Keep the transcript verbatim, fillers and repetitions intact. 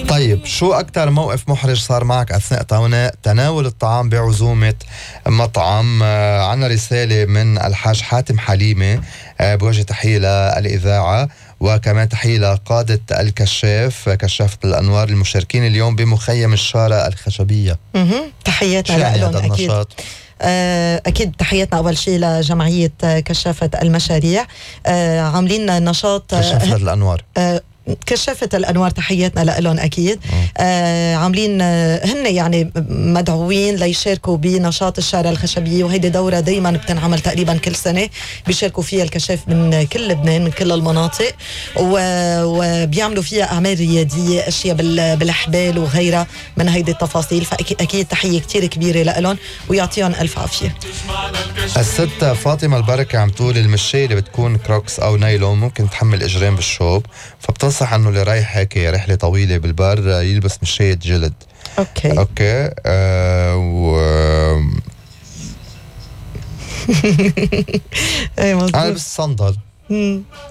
طيب شو أكتر موقف محرج صار معك أثناء تناول الطعام بعزومة مطعم؟ آه عنا رسالة من الحاج حاتم حليمة، آه بوجه تحية للإذاعة وكمان تحية لقادة الكشاف كشافة الأنوار المشاركين اليوم بمخيم الشارة الخشبية. تحياتنا لهم أكيد. أكيد تحياتنا أول شيء لجمعية كشافة المشاريع، آه عاملين نشاط كشافة الأنوار آه كشافة الأنوار، تحياتنا لهم أكيد. آه عاملين آه هن يعني مدعوين ليشاركوا بنشاط الشارع الخشبية، وهيدي دورة دايما بتنعمل تقريبا كل سنة، بيشاركوا فيها الكشاف من كل لبنان من كل المناطق، وبيعملوا فيها أعمال رياضية، أشياء بالحبال وغيرها من هيدي التفاصيل. فأكيد تحية كتير كبيرة لهم ويعطيهم ألف عافية. الست فاطمة البركة عم تقول المشاية اللي بتكون كروكس أو نايلون ممكن تحمل إجرين بالشوب، فبتنصح انه اللي رايح هيك رحله طويله بالبر يلبس مشاية جلد. اوكي اوكي آه و ايه مظبوط. انا بس صندل